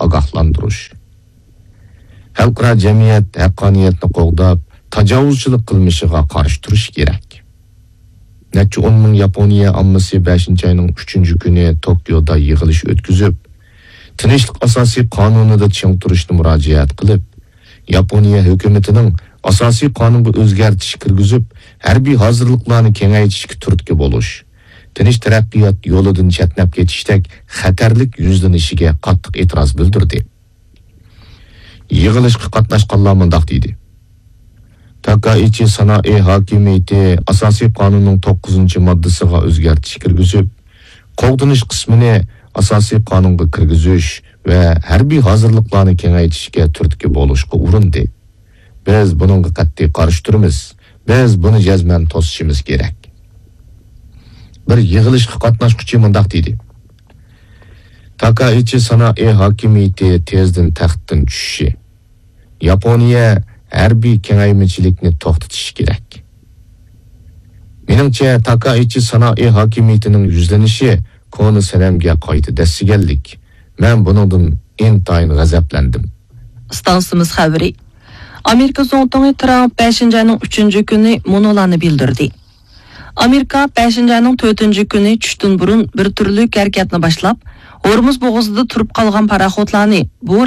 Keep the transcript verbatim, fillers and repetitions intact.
ئاگاھلاندۇرۇش. خەلقئارا جەمئىيەت ھەققانىيەتنى قوغداپ، تاجاۋۇزچىلىق قىلمىشىغا قارشى تۇرۇشى كېرەك. نەچچە ئون مىڭ ياپونىيە ئاممىسى بەشىنچى ئاينىڭ ئۈچىنچى كۈنى توكيودا يىغىلىش ئۆتكۈزۈپ، تىنچلىق ئاساسىي قانۇنىدا چىڭ تۇرۇشنى مۇراجىئەت قىلىپ، ياپونىيە ھۆكۈمىتىنىڭ ئاساسىي قانۇنغا ئۆزگەرتىش كىرگۈزۈپ، ھەربىي ھازىرلىقلارنى كېڭەيتىشكە تۈرتكە بولۇش، تىنچ تەرەققىيات يولىدىن چەتنەپ كېتىشتەك خەتەرلىك يۈزلىنىشىگە قاتتىق ئېتىراز بىلدۈردى. يىغىلىشقا قاتناشقانلار مۇنداق دېدى: تاكائىچى سانائى ھاكىمىيىتى ئاساسىي قانۇننىڭ توققۇزىنچى ماددىسىغا ئۆزگەرتىش كىرگۈزۈپ، قوغدىنىش قىسمىنى ئاساسىي قانۇنغا كىرگۈزۈش ۋە ھەربىي ھازىرلىقلارنى كېڭەيتىشكە تۈرتكە بولۇشقا ئۇرۇندى. بىز بۇنىڭغا قەتئىي قارشى تۇرىمىز. بىز بۇنى جەزمەن توسۇشىمىز كېرەك. بىر يىغىلىشقا قاتناشقۇچى مۇنداق دېدى: تاكائىچى سانائى ھاكىمىيىتى تېزدىن تەختتىن چۈشۈشى، ياپونىيە ھەربىي كېڭەيمىچىلىكنى توختىتىشى كېرەك. مېنىڭچە، تاكائىچى سانائى ھاكىمىيىتىنىڭ يۈزلىنىشى كونا سەنەمگە قايتا دەسسىگەنلىك. مەن بۇنىڭدىن ئىنتايىن غەزەپلەندىم. ئىستانسىمىز خەۋىرى. ئامېرىكا زۇڭتۇڭى ترامپ بەشىنچى ئاينىڭ ئۈچىنچى كۈنى مۇنۇلارنى بىلدۈردى. ئامېرىكا بەشىنچى ئاينىڭ تۆتىنچى كۈنى چۈشتىن بۇرۇن بىر تۈرلۈك ھەرىكەتنى باشلاپ، ھورمۇز بوغۇزىدا تۇرۇپ قالغان پاراخوتلارنى بۇ